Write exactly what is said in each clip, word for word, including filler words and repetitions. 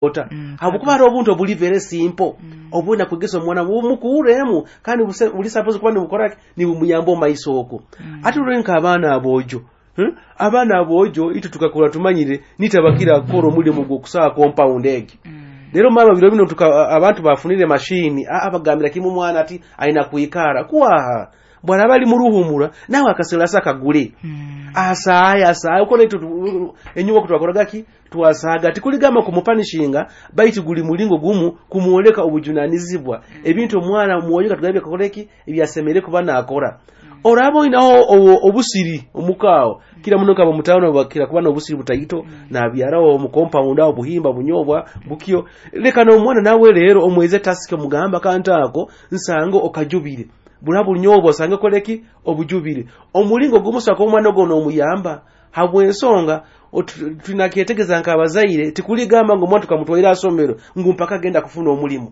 Ota Mm, habwokuba hariho obuntu obuli very simple obwina kwegesa omwana bumukuuremu, kandi buse- buli suppose kuba nibukora ki, nibumuyamba omu maiso okwo. Ate rero nk'abaana aboojo, hmm? Abaana aboojo itwe tukakura tumanyire nitabakira kukora omulimu gw'okusaaha compound egi. Rero mama, biro bino tuka abantu bafunire mashini, aa bagambira kimu omwana ati aina kwikara kwaha bwaraba ali muruhumura, nawe akaselasa akagule asaaye asaaye ukora. Itwe enyuma okutwakoraga ki, twasaaga. Tikuligamba kumupanishinga, baitu guli mulingo gumu kumwoleka obujunanizibwa ebintu omwana mwoyo katugambye akakora eki ebyasemere kuba nakora. Oraba oinaho obu- obusiri omukaawo, kira muno kaba mutaano bakira kuba n'obusiri butaito, nabyaraho omu compound aho buhimba, bunyobwa bukyo. Leka n'omwana nawe rero omweze task, omugamba akantu ako nsange okajubire, bura bunyobwa osange koleki obujubire. Omulingo gumu saka omwana ogwo n'omuyamba habw'ensonga otu- tunakyetegeza nk'abazaire, tikuligamba ngu omwana tukamutwaire asomero ngu mpaka agenda kufuna omulimu.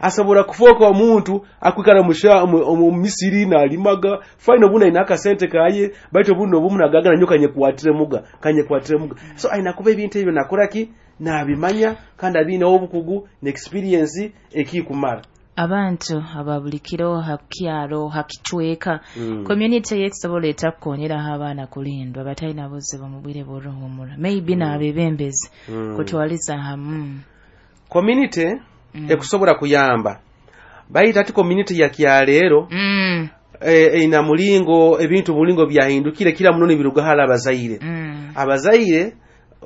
Asobora kufooka omuntu akwikara musha- mu mu misiri nalimaga fine, obundi aina akasente kaye, baitu obundi obumu nagagana nyo kanyekwatire muga kanyekwatire muga. So aina kuba ebintu ebyo nakora ki, nabimanya kandi abiineho obukugu n'experience ekikumara. Abantu aba buli kiro ha kyaro, ha kicweka, Mm. community yekusobola eta kukonyeraho abaana kulindwa batalina buzibu mu bwire bw'oruhumura, maybe n'abebembezi Mm. kutwaliza hamu? Community Mm. ekusobola kuyamba, baitu ati community ya kyaleero Mm. e, eina mulingo ebintu mulingo byahindukire, kira muno nibiruga hali abazaire. Mm. Abazaire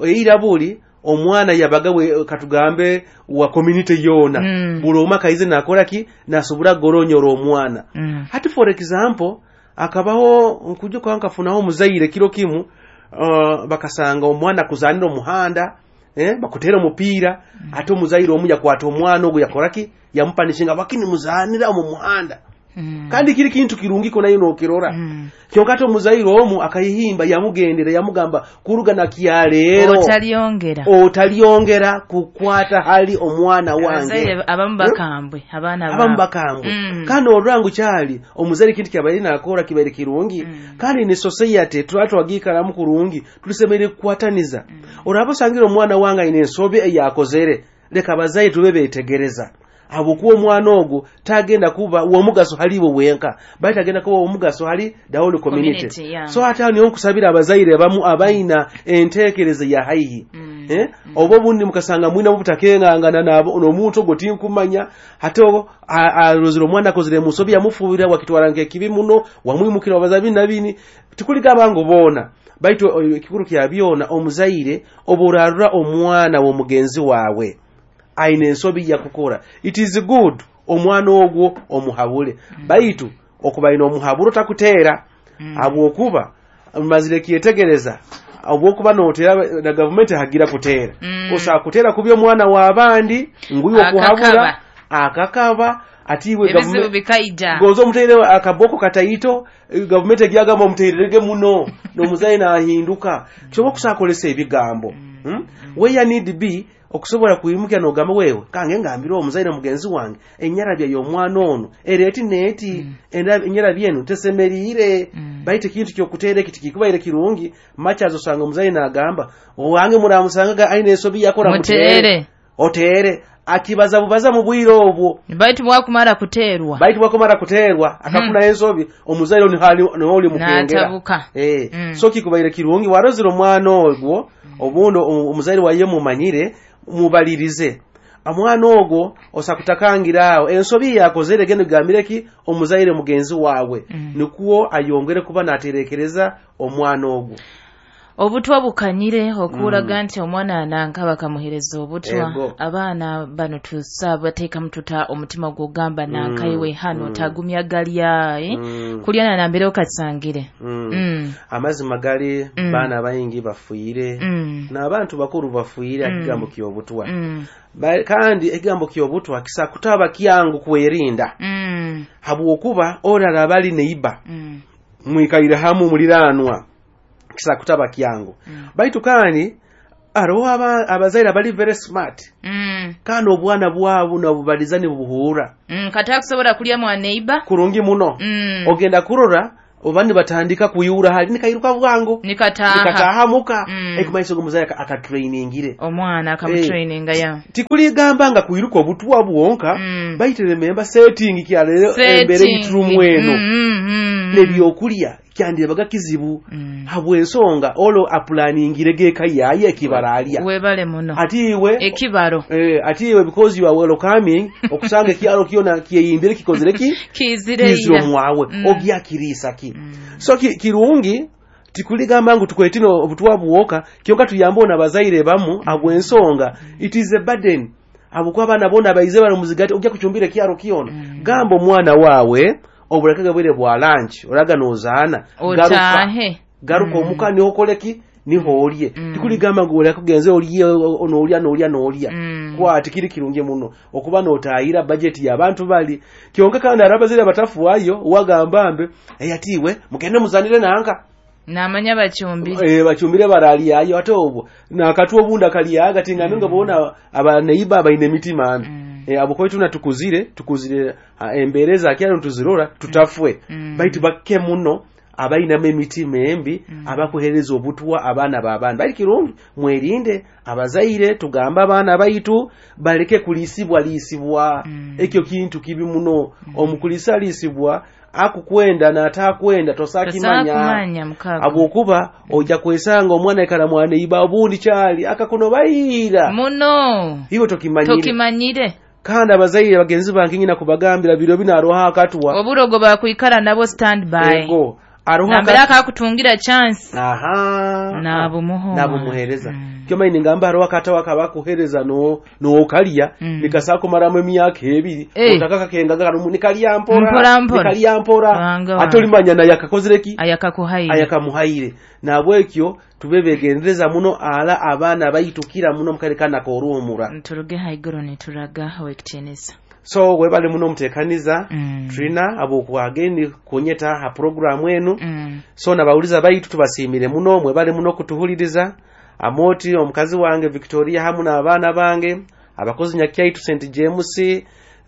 eira buli omwana yabaga we, katugambe wa community yoona. Mm. Buli omwe akaize nakora ki, nasobora goronyora omwana. Mm. Hati for example akabaho nkujuka nkafunaho omuzaire kiro kimu, uh, bakasanga omwana kuzanira omuhanda, eh, bakutera omupiira. Ate omuzaire omu yakwata omwana ogwo yakora ki, yamupanishinga bakini muzanira omu muhanda. Mm. Kandi kiri kintu kirungi ko nayo nokirora. Mm. Kyonka ate omuzaire omu akayihimba yamugendera yamugamba kuruga na kyaleero otalyongera otalyongera kukwata hali omwana wange. Abazaire abamu bakambwe abaana abamu baabo. Bakambwe. Mm. Kandi olwangu kyali omuzaire kintu kyabaire nakora kibaire kirungi. Mm. Kandi ne society tuba twagiikaramu kurungi, tulisemeire kukwataniza. Oraba osangire omwana wange aine ensobi eyakozere, leka abazaire tube betegereza, habwokuba omwana ogwo tagenda kuba w'omugaso hali iwe wenka, baitu agenda kuba w'omugaso hali the whole community. Community, yeah. So ate aho niho nkusabira abazaire abamu abaina enteekereza ya haihi, Mm. eh? Oba obundi mukasanga mwina butakengangana nabo n'omuntu ogwo tinkumanya, ate o- a- arozere omwana akozere musobi, yamufubira, wakitwara nk'ekibi muno, wamwimukira wabaza bini na bini. Tikuligamba ngu boona, baitu o- ekikuru kya byona, omuzaire oba orarura omwana w'omugenzi waawe aine ensobi yakukora, it is good omwana ogwo omuhabule, baitu okuba aine omuhaburo takuteera, Mm. habwokuba mazire kyetegereza obwokuba noteera na gavumenti hagira kuteera. Mm. Osobola kuteera kubi omwana w'abandi nguiwe okuhabura Akakaba. Akakaba ati iwe ebizibu gavume- bikaija. Goza omuteire akaboko kataito, eh, gavumenti egyagamba omuteererege muno n'omuzaire nahinduka. Kyoba okusakolesa ebigambo, hmm? Where need be okusobola kwimukya n'ogamba wewe kange ngambire omuzaire mugenzi wange enyarabya y'omwana ono ereeti neeti, Enda- enyarabya enu tesemeriire. Mm. Baitu ekintu kyokuteera eki tikikubaire kirungi machazi osanga omuzaire nagamba owange muramusangaga aine ensobi yakora muteere. Oteere akibaza bubaza mu bwire obwo. Baitu bwakumara kuteerwa. Baitu bwakumara kuteerwa akafuna ensobi, omuzaire niho oli mukengera. N'atabuka. Eh, Mm. so kikubaire kirungi warozere omwana ogwo, obundi o- omuzaire waye mumanyire, mubalirize omwana ogwo osakutakangira awo ensobi yakozere, genda ogambire ki omuzaire mugenzi waawe, Mm. nikuwo ayongere kuba naterekereza omwana ogwo. Obutwa bukanyire okulaga nti omwana nanka bakamuhereza obutwa. Ego. Abaana bano tusabateekamu tuta omutima gwogamba nankaiwe hano mm. tagumya galya, eh? Mm. Kulya nanambere okasangire. Mm. Mm. Amazima gali, Mm. baana baingi bafuire Mm. n'abantu bakuru bafuire Mm. ekigambo ky'obutwa. Mm. Ba- kandi ekigambo ky'obutwa kisakutaba kyangu kwerinda, Mm. habwokuba orara bali neiba Mm. mwikaire hamu muliranwa, kisakutaba kyangu. Mm. Baitu kandi hariho aba- abazaire abali very smart, Mm. kandi obwana bwabo nabubaliza nibubuhuura. Mm. Kati akusobola kulya mwaneiba. Kurungi muno. Mm. Ogenda kurora Oba nibatandika kuyura hali nikairuka bwango nikataha nikataha muka Mm. ekumaiso g'omuzaire akatrainingire omwana akamutraininga ya tikuligamba nga kuiruka obutwa bwonka Mm. baitu remember setting kyalero embere yiturumu eno Mm, mm, mm. nebyokulya kyandirebaga kizibu Mm. habw'ensonga olo apulaningire geka yaye ekibaralya webale muno ati iwe ekibaro eh, ati iwe because you are welcoming okusanga ekyalo kyona kyeyimbire kikozere ki kizire kizire ira. omwawe Mm. ogyakiriisa ki so ki, kirungi tikuligamba ngu tukwetino obutwa bwoka kyonka tuyambe ona abazaire bamu habw'ensonga it is a burden habwokuba abaana bona baize bano muzigati ojja kucumbira ekyalo kyona gamba omwana waawe oburekege bwire bwa lunch oraga nozaana garuka otahe garuka omuka niho okoleki niho olye Mm. tikuligamba ngu oleka kugenze olye noolya noolya noolya Mm. kwati kiri kirungi muno okuba nootayira bajeti y'abantu bali kyonka kandi ari abazaire batafuayo wagamba mbe "Ei, ati iwe mugende muzanire nanka namanya bacumbire Eh, bacumbire baralyayo ate obwo nakatwa obundi akalyaga tingambe nga bona abaneiba abaine emitima mbi Mm. Eh, abo kwetuna tukuzire tukuzire ah, embeera ezakyalo ntuzirora tutafwe Mm. baitu bakke muno abainamu emitima embi abakuhereza obutwa abaana b'abaana bali kirungi mwerinde abazaire tugambe abaana baitu baleke kuliisibwa liisibwa Mm. ekyo kintu kibi muno omukuliisaliisibwa akukwenda n'ataakwenda tosakimanya tosakumanya mukago habwokuba ojja kwesanga omwana ikara mwaneiba obundi kyali akakono bayiira muno iwe tokimanyire tokimanyire kandi abazaire bagenzi bange nyina kubagambira biro bino aroho akatwa oburogo bakwikara nabo stand by ego aroho nambere akatwa akakutungira chance aha Nabumuha. nabumuhereza Mm. kyomaini ngamba hariho akatawa kabakuhereza no nokalya Mm. nikasakumaramu emyaka ebiri Eh. otaka kakengaga karumu nikalya mpora Mpora mpora. nikalya mpora Wanga ate wange. olimanya naye akakozere ki ayakakuhaire ayakamuhaire nabwekyo tube begendereza muno ala abaana baitukira muno mukare kana koruhumura turuge haiguru nituraga owekitiinisa so webale muno mutekaniza Mm. trina abokwageni kunyeta ha programu enu Mm. so nabawuliza baitu tubasiimire muno mwebale muno kutuhuliriza amoti omukazi wange Victoria hamu n'abaana bange abakozi nyakyaitu St James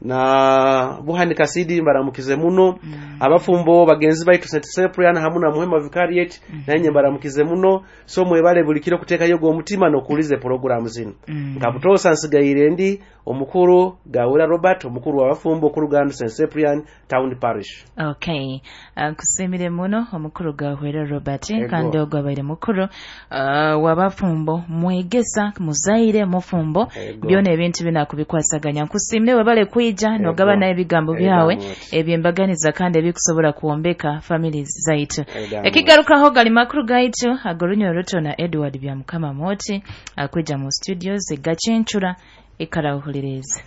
na Buhani Kasidi mbaramukize muno mm. abafumbo bagenzi baitu St Cyprian hamu na Muhema Vicariate mm. nanye mbaramukize muno so mwebale buli kiro kuteekayo omutima n'okuwuliza programu zino Mm. nka butoosa nsigaire ndi omukuru Gawura Robert omukuru w'abafumbo okuruganda St Cyprian Town Parish okay Uh, nkusiimire muno omukuru gahwera Robert Ego. kandi ogwo abaire mukuru uh, wabafumbo mwegesa muzaire mufumbo Ego. byona ebintu binakubikwasaganya nkusiimire webale kwija nogabana ebigambo byawe Ego. ebyembaganiza kandi ebikusobola kwombeka families zaitu Ego. ekigarukaho gali makuru gaitu ag'orunyoro ruto na Edward Byamukama Moti akwija mu studios gacencura ekarawuhuliriza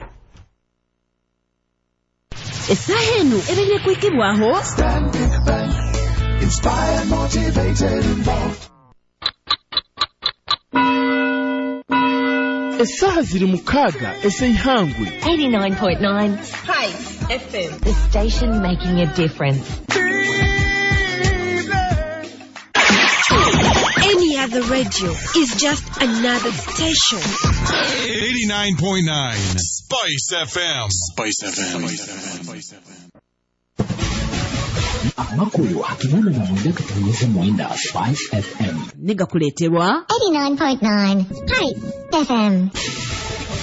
Essaaha eno ebeire kwikibwaho Stanbic Bank. Inspired, motivated, involved. Essaaha ziri mukaaga ez'eihangwe eighty-nine point nine Spice F M. The station making a difference. Any other radio is just another station. eighty-nine point nine Spice F M. Spice F M. Spice F M. Amakuru akinana na mwenda katunyeze mwenda Spice F M. Negakuleterwa eighty-nine point nine Spice F M.